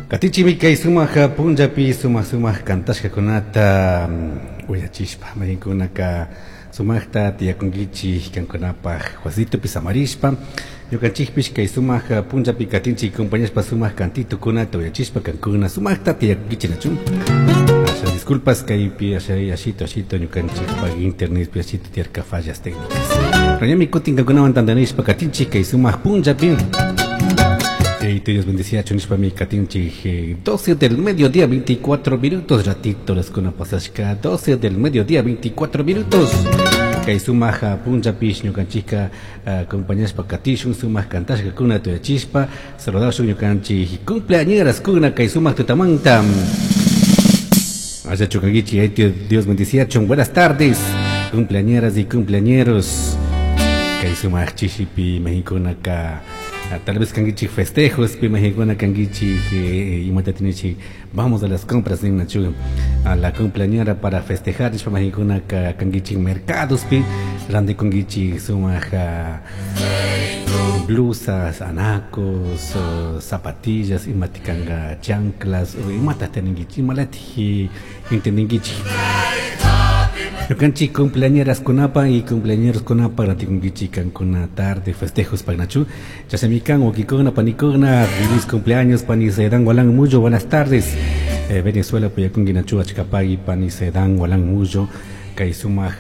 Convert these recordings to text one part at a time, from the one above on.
Katinchikmi kay sumak punllapi sumak sumak kantashkakunata uyachishpa mayqinkunaka sumakta tiyakunkichik kankunapaj wasitupi samarishpa ñukanchikpish kay sumak punllapi katinchik compañashpa sumak kantitukunata uyachishpa kankuna sumakta tiyakunkichik nachu. Asha disculpas kaypi asha ashito ashito ñukanchikpak internetpi ashito tiyarka fallas técnicas. Pero ñami kutin kankunawan tantanishpa katinchik kay sumak punllapi. Hey, Dios bendecía nishpami katinchik 12 del mediodía 24 minutos ratito las kuna pasashka 12 del mediodía 24 minutos. Kay sumak punllapish ñukanchikka acompañashpa katishun sumak kantashka kuna tuyachishpa saludashun ñukanchik cumpleañeras kuna kay sumak tutamanta. Allá chukankichik, Dios bendecía buenas tardes cumpleañeras y cumpleañeros. Kay sumak chishipi Mexiconaka tal vez kankichik festejos pi Mexicona kankichik imata tinichik vamos a las compras nachu a la cumpleañera para festejar nishpa Mexicona kankichik mercados pi rantikunkichik sumak blusas, anacos, zapatillas, imata kanka chanclas, imata teninkichik imalatik entendinkichik. Ñukanchik cumpleañeras kunapa y cumpleañeros kunapa rantikunkichik kankuna tarde festejos pagnachu. Chasamikan wawkikuna panikuna feliz cumpleaños pani Sedan Walan Mullo, buenas tardes. Venezuela puyakunki nachu achkapagui pani Sedan Walan Mullo kay sumak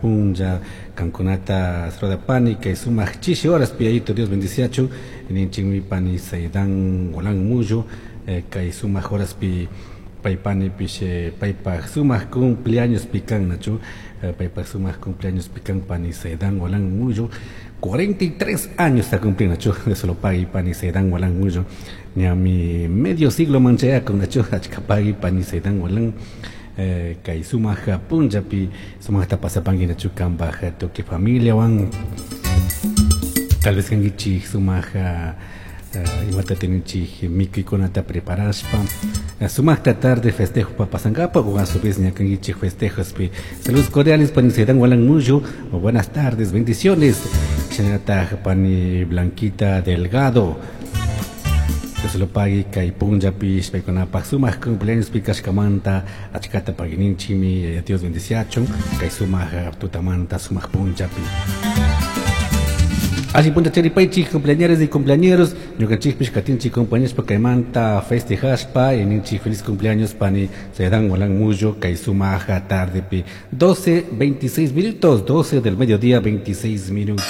punlla kankunata pani kay sumak chishi horas piyayito Dios bendiciachu ninchikmi pani Sedan Walan Mullo kay sumak horas pi paypani pish paypaj sumak cumpleaños pican nachu paypaj sumak cumpleaños pican pani Sedan Walan Mullo 43 años está cumpliendo nachu de solo pagui pani Sedan Walan Mullo ñami medio siglo manchaya con nachu achkapagui pani Sedan Walan kay sumak punllapi sumakta pasapanki nachu kanpaj tukuy familia wan tal vez kankichik sumak imata tininchik mikuykunata preparashpa sumakta tarde festejo pa pasankapa o a su vez ñakankichik festejospi. Saludos cordiales pani Sedan Walan Mullo, buenas tardes, bendiciones. Shinallataj pani Blanquita Delgado. Dios lo pague kay punllapish paykunapaj sumak cumpleaños pikashkamanta achkata paguininchikmi Dios bendiciachun kay sumak tutamanta sumak punllapi. Así punta charipaychik cumpleañeras y cumpleañeros ñukanchikpish katinchik compañeros kaymanta festejashpa y ninchik feliz cumpleaños pani Sedan Walan Mullo kay sumaja tarde pi 12:26 minutos, 12 del mediodía 26 minutos.